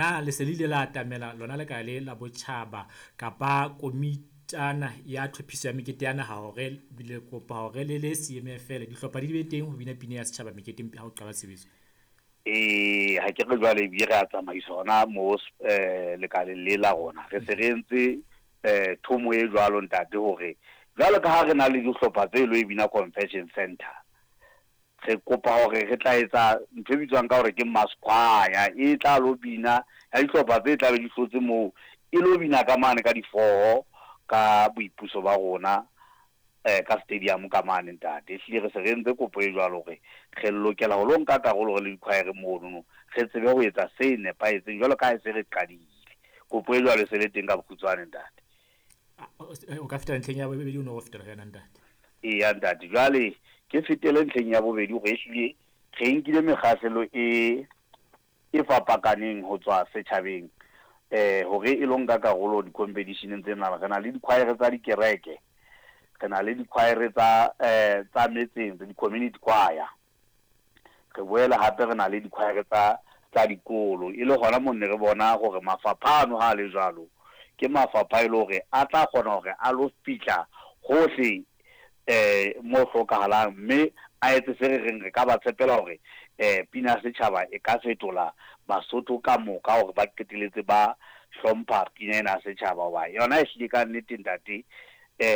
Na le se le ile la atamela lona lekala le la botjhaba kapa komitana ya tlhophiso ya mekete ya naha hore le kopa hore le le CMFL dihlopha di be teng ho bina pina ya setjhaba meketeng ha ho qala tshebetso? Ee, ha ke re jwale ebile re a tsamaisa hona mo lekaleng le la rona. Re se re entse thomo e jwalo ntate hore jwalo ka ha re na le dihlopha tse lo e bina Convention Center, re kopa hore re tla etsa ntho e bitswang ka hore ke mass choir e tla lo bina ya dihlopha tse tla be di hlotse moo, e lo bina ka mane ka di-4 ka boipuso ba rona ka stadium ka mane ntate. Ehlile re se re entse kopo e jwalo hore re lokela ho lo nka karolo re le di-choir monono, re tsebe ho etsa se nepahetseng jwalo ka ha e se re qadile. Kopo e jwalo e se le teng ka bokgutshwane ntate. O ka fetela ntlheng ya bobedi, o no o fetela ho yona ntate. Eya ntate, jwale ke fetele ntlheng ya bobedi hore ehlile re nkile mekgahlelo e fapakaneng ho tswa setjhabeng hore e lo nka karolo di-competition-eng tsena. Re na le di-choir tsa dikereke, re na le di-choir tsa metseng, di-community choir. Re boela hape re na le di-choir tsa dikolo. E le hona mo ne re bona hore mafapha ano ha a le jwalo, ke mafapha e le hore a tla kgona hore a lo fihla hohle mo hlokahalang, mme a etse se re reng re ka ba tshepela hore pina ya setjhaba e ka fetola Basotho ka moka hore ba qeteletse ba hlompha pina ena ya setjhaba. Hoba yona ehlile ka nnete ntate,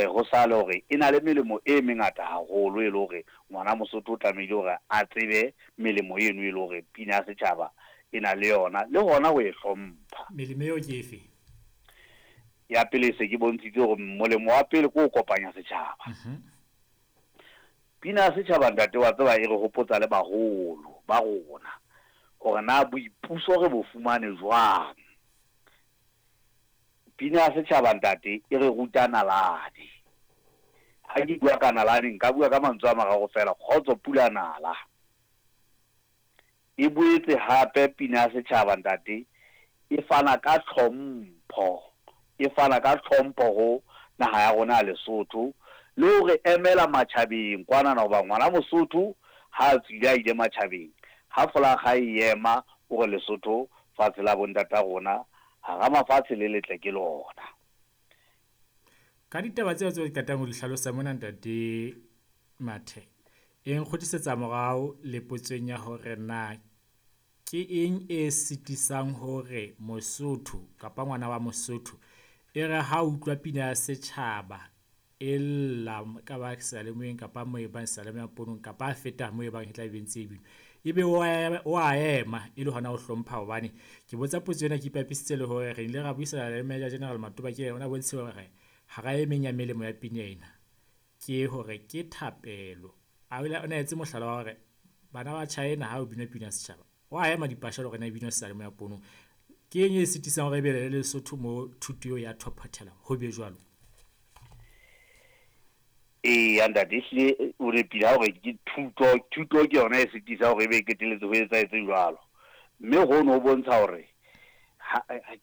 ho sale hore e na le melemo e mengata haholo, e le hore ngwana Mosotho o tlamehile hore a tsebe melemo eno e le hore pina ya setjhaba e na le yona, le hona ho e hlompha. Melemo eo ke efe? Ya pele se ke bontshitse hore molemo wa pele ke ho kopanya setjhaba. Pina ya setjhaba ntate wa tseba e re hopotsa le baholo ba rona hore na boipuso re bo fumane jwang. Pina ya setjhaba ntate e re ruta nalane. Ha ke bua ka nalane nka bua ka mantswe a mararo fela, kgotso pula nala. E boetse hape pina ya setjhaba ntate e fana ka tlhompho, e fana ka tlhompho ho naha ya rona ya Lesotho, le hore emela matjhabeng kwanana. Hoba ngwana Mosotho ha a tswile a ile matjhabeng, ha folakga e ema o re Lesotho fatshe la bontata rona, hara mafatshe le letle ke lona. Ka ditaba tseo tseo ke qetang ho di hlalosa mona ntate Mathe, e nkgutlisetsa morao le potsong ya hore na ke eng e sitisang hore Mosotho kapa ngwana wa Mosotho e re ha utlwa pina ya setjhaba e lla ka ba seyalemoyeng kapa moo e bang seyalemoya ponong kapa a feta moo e bang e tla be ntse e binwa, ebe o a ema e le hona ho hlompha? Hobane ke botsa potso ena ke ipapisitse le hore re ile ra buisana le Major General Matoba, ke yena o bontshe hore hara e meng ya melemo ya pina ena ke hore ke thapelo. A o na etse mohlala wa hore bana ba China ha o binwa pina ya setjhaba wa ema dipasha le hore na e binwa seyalemoya ponong. Ke eng e sitisang hore ebe le Lesotho mo thuto eo ya thophothela ho be jwalo? Eya ntate, ehlile o nepile ha hore ke thuto, thuto ke yona e sitisa hore ebe e qetelletse ho etsahetse jwalo. Mme hono ho bontsha hore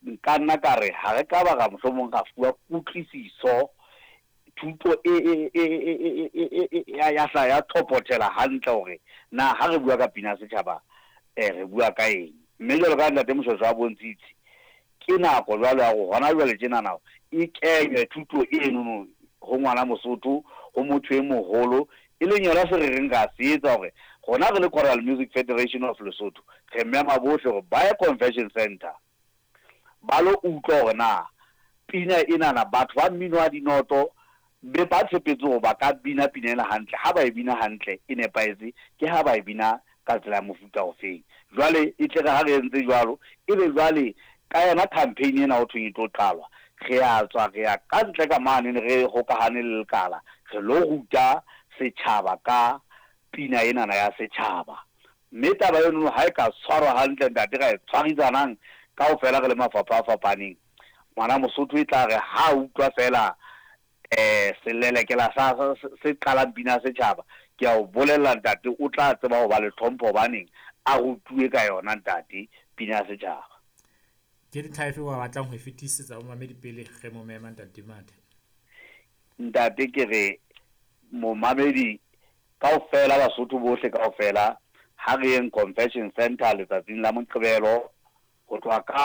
nka nna ka re ha re ka ba ra mohlomong ra fuwa kutlwisiso, thuto e ya hla ya thophothela hantle hore na ha re bua ka pina ya setjhaba re bua ka eng. Mme jwalo ka ntate Moshweshwe a bontshitse, ke nako jwale ya hore hona jwale tjenana e kenywe thuto enono ho ngwana Mosotho, ho motho e moholo, e leng yona se re reng ra se etsa hore rona re le Choral Music Federation of Lesotho re mema bohle hore ba ye Convention Center ba lo utlwa hore na pina enana batho ba mmino wa dinoto be ba tshepetse hore ba ka bina pina ena hantle. Ha ba e bina hantle e nepahetse, ke ha ba e bina ka tsela ya mofuta ofeng. Jwale e tle re ha re entse jwalo, ebe jwale ka yona campaign ena ho thweng e tlo qalwa, re a tswa re ya ka ntle ka mane re hokahane le lekala, re lo ruta setjhaba ka pina enana ya setjhaba. Mme taba eno ha e ka tshwarwa hantle ntate, ra e tshwarisanang kaofela re le mafapha a fapaneng, ngwana Mosotho e tla re ha utlwa fela selelekela sa se qalang pina ya setjhaba, ke a o bolella ntate o tla tseba ho ba le tlhompho hobaneng a rutuwe ka yona ntate pina ya setjhaba. Ke dintlha efe wa batlang ho e fetisetsa ho mamedi pele re mo mema ntate Mathe? Ntate ke re momamedi kaofela, Basotho bohle kaofela, ha re yeng Convention Center letsatsing la Moqebelo. Ho tloha ka.